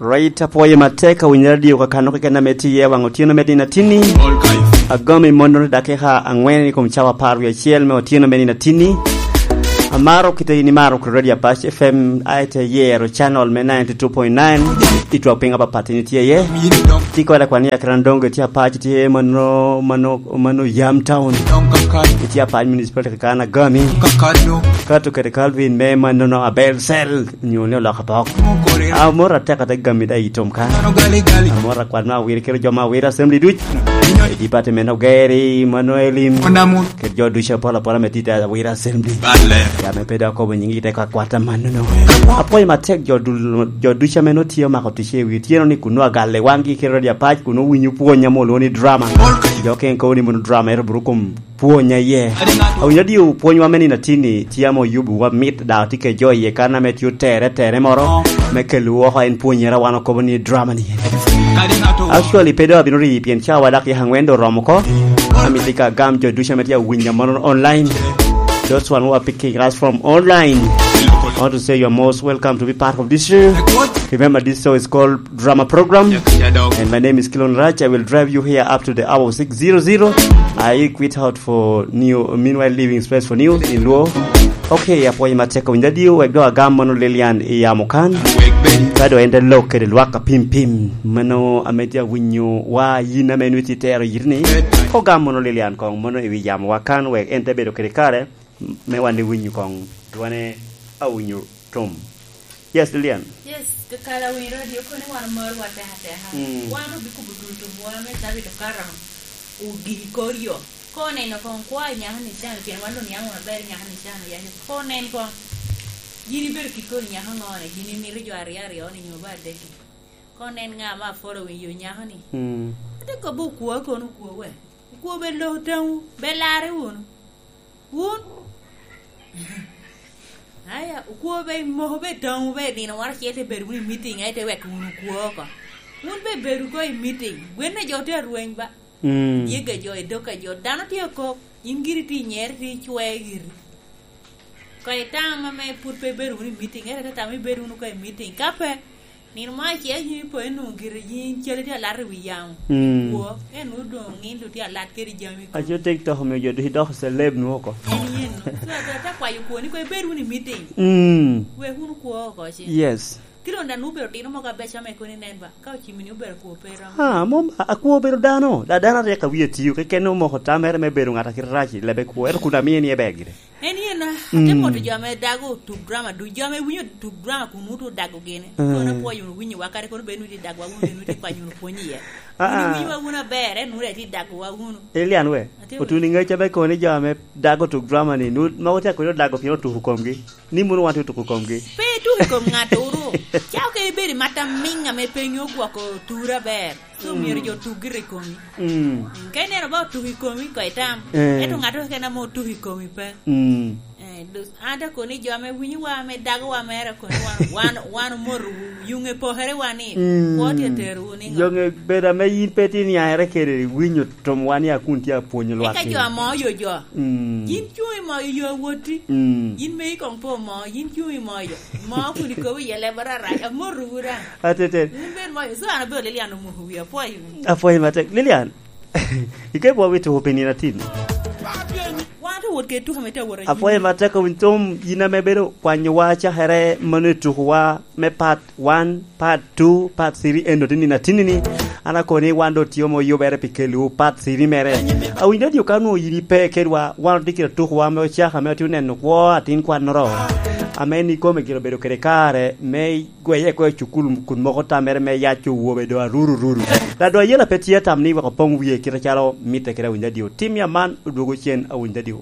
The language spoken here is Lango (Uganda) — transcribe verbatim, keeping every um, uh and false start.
Right, apwoyo matek awinyo radio kakano keken ame tye i waŋ otyeno me nino atinni. Agomo i mondo ni dakika angwen i kom cawa apar wie acel me otyeno me nino atinni. Amaro kite in imaro kede Radio Apac F M, aye te yero channel me ninety two point nine. I twak piny apapat in itye iye. Ti kode kwan i akran dongo itye Apac, itye mano, mano, mano Yam Town. Itye Apac Municipality kan Agami. Kato kede Calvin me mano no Abel Cell. Nyo ni oloko apok. Amor atek atek gami da i tom kan. Amor akwat me Awira kede jo me Awira Assembly duc. I department of Gary, Manuel Im. Kede jo duc apol apola me tita Awira Assembly. Ya me pe dok akobo nyingi te ka kwata mano no. Apwoyo matek jo dul-, jo duc ame no tiyo mako tic i wi otyeno ni kuno agalle wangi kede Radio Apac, kuno winyo pwonya mo lwongo ni drama. Jo ken kobo ni mono drama ero buru kom pwonya iye. Awinyo diyo pwonywa me nino atinni tye ame oyubo wa mit, dok tye kede jo iye kan ame tye otere tere moro me kelo woko en pwonyere wan okobo ni drama ni. Actually, pe do abino rii pien cawa dok yaka angwen do oromo oko. Amito ka agam jo ducu ame tye awinyo mono online. Those one who are picking us from online, I want to say you are most welcome to be part of this show. Remember, this show is called Drama Program. And my name is Kilon Rach. I will drive you here up to the hour of six zero zero. I quit out for new, meanwhile leaving space for new in Luo. Okay, apwoyo matek awinyo adio, wek do agam mono Lilian i yamo kan. Ka do en te lok kede lwak apim pim. Mano ame tye awinyo wa yin ame nwi tye tero yit ni. Ko gam mono Lilian kong mono i wi yamo wa kan, wek en te bedo kede kare me wan iwinyo kong dwane awinyo tum. Yes, Lilian. Yes, kakala winyo radio kono wan omor wa teka teka. Mm. Wan obikubo dul tumwa me cabit okato ogiki kor yo. Ko neno kong kwa nyaka ni can, pien wan dong niaŋ wan ber nyaka ni can oyaco. Ko nen kong, yin ibedo kit koni nyaka ŋo ni, yin imito jo aryo aryo ni nyo ba adek-ki. Ko nen ŋa ma following yo nyaka ni. Mm. Ate kobo okwo kono okwo we. Okwo be lok taŋu, be lare wunu. Wun? Aya, okwo be moko be taŋu be nino moro acel te bedo wunu i meeting, aye te wek wunu okwo oko. Wun be bedo ko i meeting, gwenne jo te arweny ba. Mm. Yega jo, i dog ka jo, dano tye akok, yin giri tye i nyere, tye icwee giri. Ka itamo ame pwod pe ibedo wunu i meeting, ere te tamo ibedo wunu ka i meeting. Ka pe, nino mo acel yin ipo inwoŋo giri yin cali tye alat i wi yamo. Mm. Kwo, en nwoŋo doŋ ŋin doŋ tye alat kede jami kong. Aco TikTok omio jo ducu doko celeb nwoŋo oko. En yen no. So, ate, ate kwayo kwoni ko ibed wunu i meeting. Mm. Wek wunu kwo oko ci. Yes. Kit ondan obedo tino mogo abeco ame kono inen ba, ka ocimmi ni obedo kwo pe romo. Ha, mom, a-, akwo obedo dano, da dano aryek a wie tio, keken omoko tamere me bedo ŋat a kite rac i lebe kwo, ento kun amiye ni ebe gire. En yen, ah, ate Mm. moto jo ame dago tuk drama duc, jo ame winyo tuk drama kun wuto dago gini. Mm. Kono apwoyo wunu winyo wa, kadi kono bed wunu ti dago wa wunu, bed wunu ti kwanyo wunu pwony iye. Ah, ah. Wunu winyo wa wunu aber, en wunu ati dago wa wunu. Elian we, Ate otuni ŋec abe kono ni jo ame dago tuk drama ni, nu-, mogo tye akwede odago pien otuko komgi. Ni mono wan tye otuko komgi. Pe ituk i kom ŋato uru. Cako kede ibedo i mat amiŋ ame pe nyo gwoko tura ber. So myero jo otuk gire i komi. Mm. Mm, ka ineno ba otuk i komi, ko itam. Eh. Ento ŋato keken ame otuk i komi pe. Mm. Eh, dus, an te koni jo ame winyo wa, ame dago wa mere koni wan, wan, wan omoto yuŋe pokere wa ni, mm, kwo tye tero wu ni ŋo? Yoŋe bedo ame yin pe tye niaŋere kede winyo tom wan ya kun tye apwonyo lwak. Eka jo ame oyo jo. Mm. Yin cuŋ i mo yo woti. Mm. Yin me i kong po mo, yin cuŋ i mo yo. Mo kun ikobo iye leb arac, amoto wu daŋ. Atete. Wun bed mo, so an abedo Lilian omoko wi apwoyo. Apwoyo matek. Lilian, ikebwa wi tuko pi nino atin. Wan ate wot kede tuko ame te wot anyim. Apwoyo matek owiny thum, yin ame bedo kwanyowa cakere mano i tukowa me pat one, part two, part three, eno tye nino atinni ni. An akoni wan doŋ tye ame oyubere pi kelliwu part three mere. Awinyo ni ka onwoŋo yin ipe kedwa, wan otye kede tukowa ame ocako ame otye oneno kwo atin kwannoro. Ame ni kome gire obedo kede kare me gweye ko i cukul kun moko tamere me yac owobe doŋ aruru ruru. Ladwa yela pe tye tam ni wek opoŋ wie kite calo mitte kede awinyo adio. Tim ya man odwogo cen awinyo adio.